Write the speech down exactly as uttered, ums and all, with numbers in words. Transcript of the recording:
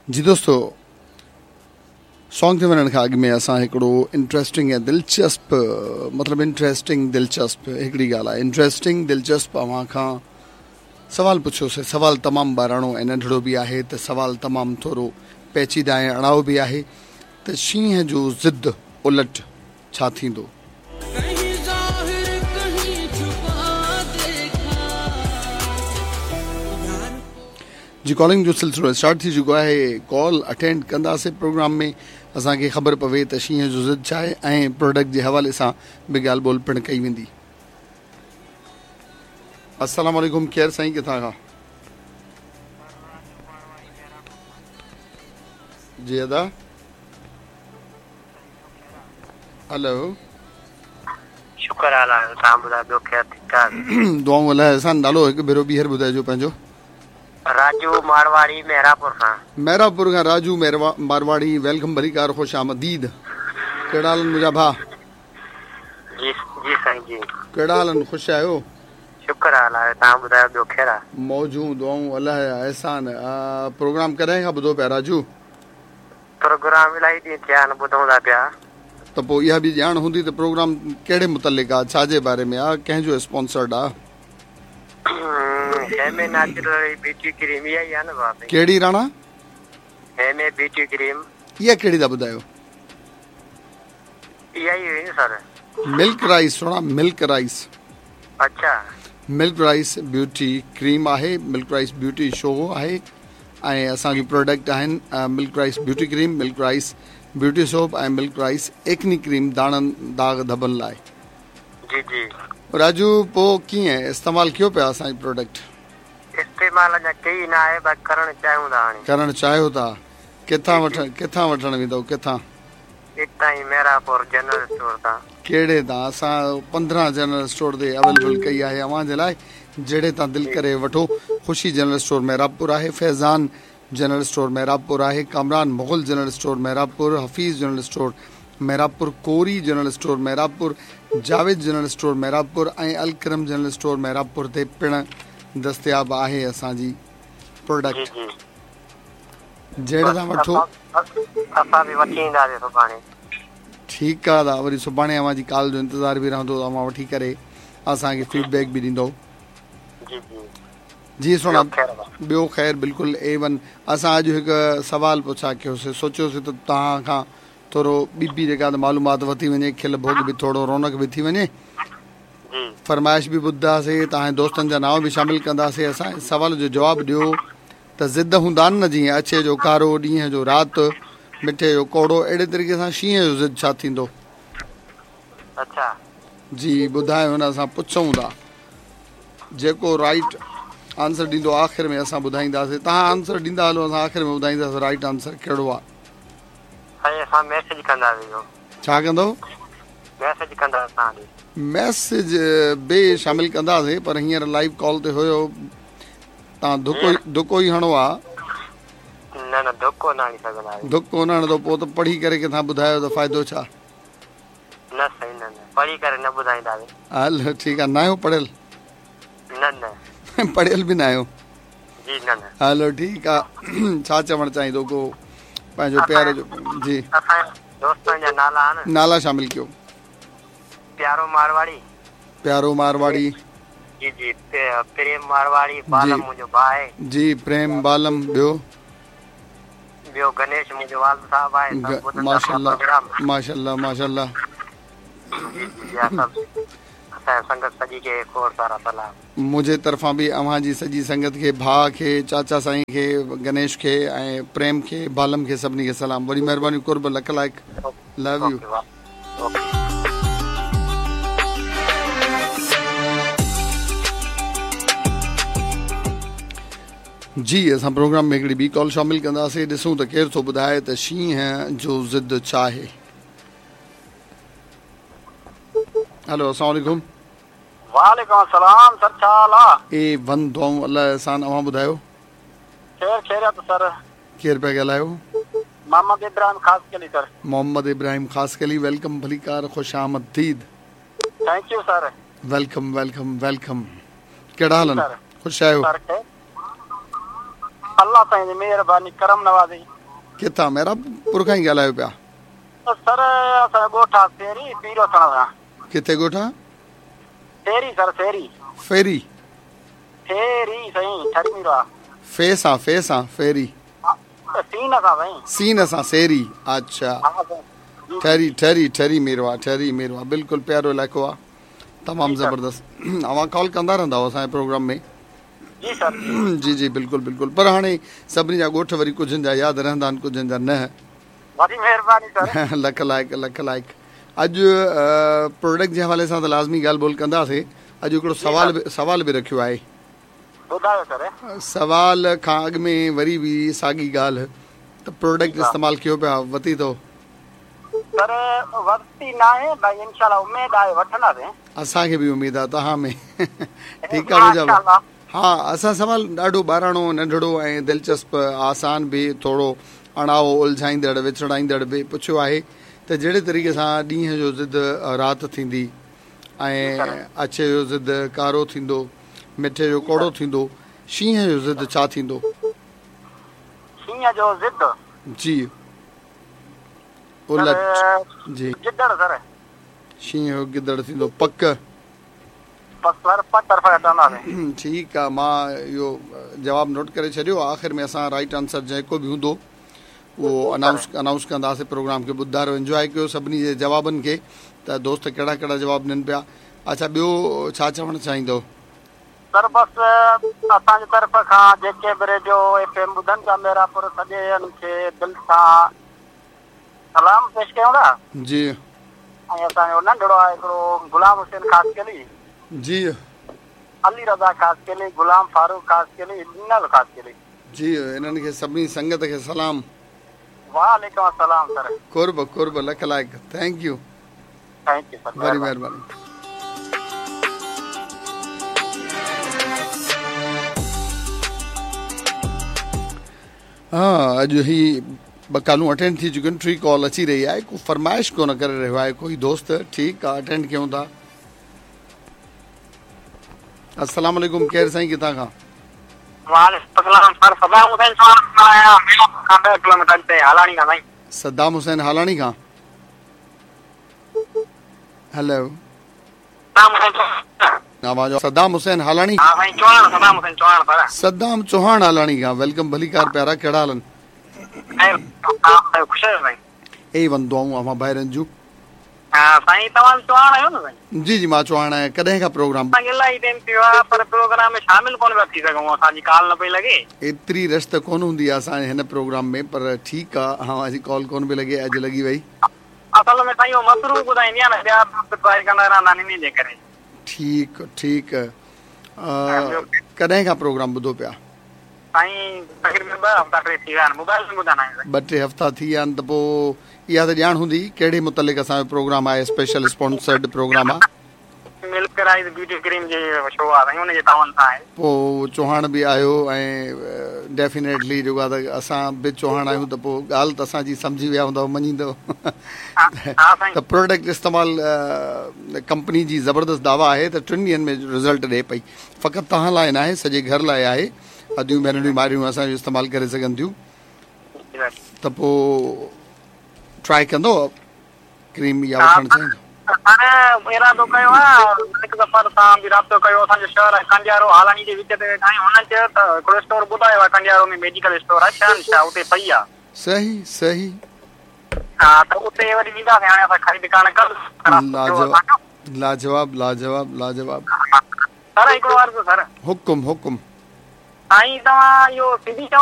जी दोस्तो, सॉन्ग ते वञण खां अॻु में असां हिकिड़ो इंट्रस्टिंग ऐं दिलचस्प, मतिलबु इंट्रस्टिंग दिलचस्प हिकिड़ी ॻाल्हि आहे, इंट्रस्टिंग दिलचस्प अव्हां खां सवाल पुछियोसीं। सवाल तमामु ॿाराणो ऐं नंढड़ो बि आहे त सवाल तमामु थोरो पेचीदा ऐं अड़ाओ बि आहे त शींहं जो ज़िद उलट छा थींदो? जी कॉलिंग जो सिलसिलो स्टार्ट थी चुको आहे, कॉल अटेंड कंदासीं प्रोग्राम में असांखे ख़बर पवे त शींहं जो ज़िद छा आहे ऐं प्रोडक्ट जे हवाले सां बि ॻाल्हि ॿोल पिणु कई वेंदी। अस्सलाम वालेकुम, केरु साईं, किथां खां? जी अदा, हेलो। शुक्र अल्लाह, तव्हां ॿुधायो, ॿियो ख़ैर ठीकु आहे? दुआऊं अल्लाह अहसान। नालो हिकु भेरो ॿीहर ॿुधाइजो पंहिंजो। राजू मारवाड़ी, मेहरापुर खां। मेहरापुर खां राजू मारवाड़ी, welcome, भलीकार, ख़ुश आमदीद। कहिड़ा हाल आहिनि मुंहिंजा भाउ? जी जी साईं जी। कहिड़ा हाल आहिनि, ख़ुशि आहियो? शुक्र अल्लाह, तव्हां ॿुधायो, ॿियो ख़ैर आहे? मौजूं, दुआऊं अल्लाह जा अहसान। प्रोग्राम कॾहिं खां ॿुधो पिया राजू? प्रोग्राम इलाही ॾींहं थिया आहिनि, ॿुधूं था पिया। त पोइ इहा बि ॼाण हूंदी त प्रोग्राम कहिड़े मुतलिक़ आहे, छाजे बारे में आहे, कंहिंजो स्पॉन्सर्ड आहे? हेमे नेचुरल ब्यूटी क्रीम इहा ई आहे न भाउ? कहिड़ी राणा? हेमे beauty cream. इहा कहिड़ी था ॿुधायो? इहा ई हुई न सर, मिल्क राइस। सुहिणा, मिल्क राइस। अच्छा, मिल्क राइस ब्यूटी क्रीम आहे, मिल्क राइस ब्यूटी शो आहे ऐं असांजो प्रोडक्ट आहिनि milk rice beauty cream, milk rice beauty soap ऐं मिल्क राइस एक्नी क्रीम दाणनि दाग़ धबनि लाइ। जी जी राजू, पोइ कीअं इस्तेमालु कयो पिया असांजो प्रोडक्ट? इस्तेमालु अञा कई न आहे, बाक़ी करणु चाहियूं था। हाणे करणु चाहियो था। किथां वठण, किथां वठणु वेंदव, किथां? हितां ई मेहरापुर जनरल स्टोर तां। कहिड़े तां? असां पंद्रहं जनरल स्टोर ते अवेलेबल कई आहे अव्हां जे लाइ, जहिड़े तां दिलि करे वठो। ख़ुशी जनरल स्टोर मेहराबपुर आहे, फैज़ान जनरल स्टोर मेहराबपुर आहे, Kamran Mughal general store Mehrabpur, Hafeez general store Mehrabpur, Kori general store Mehrabpur, Javed general store Mehrabpur ऐं अलकरम जनरल स्टोर मेहराबपुर ते पिणु दस्तियाबु आहे असांजी प्रोडक्ट। जहिड़े तां वठो। असां बि वठी ईंदासीं सुभाणे। ठीकु आहे दा, वरी सुभाणे अव्हांजी कॉल जो इंतज़ारु बि रहंदो, अव्हां वठी करे असांखे फीडबैक बि ॾींदो। जी जी जी सुहिणा, ॿियो ख़ैर बिल्कुलु ए वन। असां अॼु हिकु सवाल पुछा कयोसीं, सोचियोसीं त तव्हां खां थोरो ॿी बि जेका मालूमात वठी वञे, खिल भोग बि थोरो, रौनक बि थी वञे, फरमाइश बि ॿुधंदासीं, तव्हांजे दोस्तनि जा नांव बि शामिल कंदासीं। असां सवाल जो जवाबु ॾियो त ज़िद हूंदा आहिनि न, जीअं अछे जो कारो, ॾींहं जो राति, मिठे जो कौड़ो, अहिड़े तरीक़े सां शींहं जो ज़िद छा थींदो? अच्छा जी ॿुधायो न, असां पुछूं था, जेको राइट आंसर ॾींदो आख़िर में असां ॿुधाईंदासीं। तव्हां आंसर ॾींदा हलो, असां आख़िर में ॿुधाईंदासीं राइट आंसर कहिड़ो आहे। असां मैसेज कंदासीं। छा कंदो? मैसेज कंदासीं तव्हां। मैसेज बि शामिल कंदासीं, पर हींअर लाइव कॉल ते हुयो, तव्हां धुको धुको ई हणो आहे। न न, धोको न हणी सघंदा। धोको न हणंदो पोइ त पढ़ी करे कंहिंखां ॿुधायो त फ़ाइदो छा? न साईं, न न, पढ़ी करे न ॿुधाईंदासीं। हल ठीकु आहे। न आहियो पढ़ियल? न न, पढ़ियल बि न आहियो? जी न न। हलो ठीकु आहे। छा चवणु चाहींदो को पंहिंजो प्यारो जो? जी दोस्तनि जा नाला आहिनि, नाला शामिल कयो। प्यारो मारवाड़ी, प्यारो मारवाड़ी जी जी, प्रेम मारवाड़ी, बालम मुंहिंजो भाउ आहे जी, प्रेम बालम, ॿियो? ॿियो गणेश मुंहिंजो वालिद साहिबु आहे। माशाअल्लाह माशाअल्लाह माशाअल्लाह। जी जी, सभु असांजी संगत सॼी खे खोड़ सारा सलाम। मुंहिंजे तरफ़ां बि अव्हां जी सॼी संगत खे, भाउ खे, चाचा साईं खे, गणेश खे ऐं प्रेम खे, बालम खे, सभिनी खे सलाम। वॾी महिरबानी, कुर्ब, लख लाइक़, लव you. जी असां प्रोग्राम में हिकिड़ी ॿी कॉल शामिल कंदासीं, ॾिसूं त केरु थो ॿुधाए त शींहं जो ज़िद छा आहे। हेलो, अस्सलाम वालेकुम। वालेकुम सलाम सर, छा हाल आहे? ए वन, दुआऊं अल्लाह एहसान। अव्हां ॿुधायो? ख़ैर ख़ैरियत सर। केरु पिया ॻाल्हायो? मोहम्मद इब्राहिम ख़ासकेली सर। मोहम्मद इब्राहिम ख़ासकेली, welcome, भलीकार, ख़ुश आमदीद। Thank you sir. Welcome welcome welcome. कहिड़ा हाल आहिनि? ख़ुशि आहियो? अल्लाह साईं जी मेहरबानी, करम नवाज़ी। किथां मेहराबपुर खां ई ॻाल्हायो पिया? सर असां ॻोठ आहे फेरी पीरो थण सां। किथे ॻोठ आहे? फेरी सर फेरी। फेरी फेरी साईं ठरी मीरो आहे। फे सां फे सां फेरी। सीन सां साईं। सीन सां सेरी। अच्छा ठरी ठरी ठरी मीरवा ठरी मीरवा बिल्कुलु प्यारो इलाइक़ो आहे तमामु ज़बरदस्त। अवां कॉल कंदा रहंदा आहियो असांजे प्रोग्राम में? जी सर जी जी बिल्कुलु बिल्कुलु। पर हाणे सभिनी जा ॻोठ वरी कुझनि जा यादि रहंदा आहिनि कुझनि जा न। वॾी महिरबानी सर। लख लाइक़ लख लाइक़। अॼु प्रोडक्ट जे हवाले सां त लाज़मी ॻाल्हि ॿोल कंदासीं। अॼु हिकिड़ो सवाल बि सवाल बि रखियो आहे। ॿुधायो सर। सवाल खां अॻु में वरी बि साॻी ॻाल्हि त प्रोडक्ट इस्तेमालु कयो पिया वरिती अथव? सर वरिती न आहे भाई इंशाल्लाह उमेद आहे वठंदासीं। असांखे बि उमेद आहे तव्हां में। ठीकु आहे मुंहिंजा। हा असां सवाल ॾाढो ॿाराणो नंढड़ो ऐं दिलचस्प आसान बि थोरो अणाओ उलझाईंदड़ विछड़ाईंदड़ बि पुछियो आहे त जहिड़े तरीक़े सां ॾींहं जो ज़िद राति थींदी ऐं अछे जो ज़िद कारो थींदो मिठे जो कौड़ो थींदो शींहं जो ज़िद छा थींदो? शींहं जो ज़िद जी उलट जी गिदड़ सर। शींहं जो गिदड़ थींदो पक। ठीकु आहे मां इहो जवाबु नोट करे छॾियो। आख़िर में असां राइट आंसर जेको बि हूंदो उहो अनाउंस अनाउंस कंदासीं प्रोग्राम खे। ॿुधायो एंजॉय कयो सभिनी जे जवाबनि खे त दोस्त कहिड़ा कहिड़ा जवाबु ॾियनि पिया। अच्छा ॿियो छा चवणु चाहींदो? सर बस असांजे तरफ़ खां जेके बि रेडियो एफ एम ॿुधनि था मेरापुर सॼे खे दिलि सां सलाम पेश कयूं था। जी ऐं असांजो नंढड़ो आहे हिकिड़ो ग़ुलाम हुसैन ख़ासकेली जी अली रज़ा ख़ासकेली ग़ुलाम फारूक ख़ासकेली ॾिनल ख़ासकेली जी इन्हनि खे सभिनी संगत खे सलाम। वालेकुम अस्सलाम सर। कुर्ब कुर्ब लख लाइक़। Thank you thank you sir बड़ी महिरबानी। हा अॼु ही ॿ कॉलूं अटेंड थी चुकियूं आहिनि टी कॉल अची रही आहे को फरमाइश कोन करे रहियो आहे कोई दोस्त। ठीकु आहे अटेंड कयूं था। अस्सलाम वालेकुम केरु साईं किथां खां? वालेकुम सलाम सर सदाम हुसैन आया खां ॿ किलोमीटर ते हालाणी खां साईं। सदाम हुसैन हालाणी खां। हेलो आवाज़ सदाम हुसैन हालाणी। हां साईं चौहान सदाम हुसैन चौहान सर। सदाम चौहान हालाणी खां welcome भलीकार प्यारा कहिड़ा हाल आहिनि? ख़ुशि आहियो साईं? ए वन दुआऊं अवां ॿाहिरनि जूं। हां साईं तव्हां चौहान आहियो न साईं? जी जी मां चौहान आहियां। कॾहिं खां प्रोग्राम? इलाही टाइम थियो आहे पर प्रोग्राम में शामिल कोन पिया थी सघूं असांजी कॉल न पई लॻे। एतिरी रश त कोन हूंदी आहे असांजे हिन प्रोग्राम में पर ठीकु आहे अवांजी कॉल कोन पई लॻे अॼु लॻी वई। असल में साईं उहो मसरूफ़ ॿुधाईंदी आहे न ॿिया ट्राई कंदा रहंदा आहिनि इन जे करे। ठीकु ठीकु। कॾहिं खां प्रोग्राम ॿुधो पिया? साईं तक़रीबन ॿ हफ़्ता टे थी विया आहिनि मोबाइल में ॿुधंदा आहियूं। ॿ टे हफ़्ता थी विया आहिनि त पोइ इहा त ॼाण हूंदी कहिड़े मुतलिक़ असांजो प्रोग्राम आहे स्पेशल स्पॉन्सर्ड प्रोग्राम आहे। मिल्क राइस ब्यूटी क्रीम जे शो आहे साईं उन जे तावन सां आहे। पोइ चौहान बि आहियो ऐं डेफिनेटली जेको आहे त असां बि चौहान आहियूं त पोइ ॻाल्हि त असांजी सम्झी विया हूंदव मञींदव। त प्रोडक्ट इस्तेमालु कंपनी जी ज़बरदस्त दावा आहे त टिनि ॾींहंनि में रिज़ल्ट ॾिए पई। फ़क़ति तव्हां लाइ न आहे सॼे घर लाइ आहे। अदियूं भेनरियूं मारियूं असांजो इस्तेमालु करे सघनि थियूं त पोइ ट्राई कंदो क्रीम या वठणु चाहींदो? सर इरादो कयो आहे हिकु दफ़ा तव्हां बि राब्तो कयो असांजो शहर आहे कंडियारो हालाणी जे विच ते वेठा आहियूं। हुननि चयो त हिकिड़ो स्टोर ॿुधायो आहे कंडियारो में मेडिकल स्टोर आहे शहनशाह उते पई आहे। सही सही। हा त उते वरी वेंदासीं हाणे असां ख़रीद करण कल्ह। लाजवाब लाजवाब लाजवाब। सर हिकिड़ो अर्ज़ु सर। हुकुम हुकुम। साईं तव्हां इहो सिंधी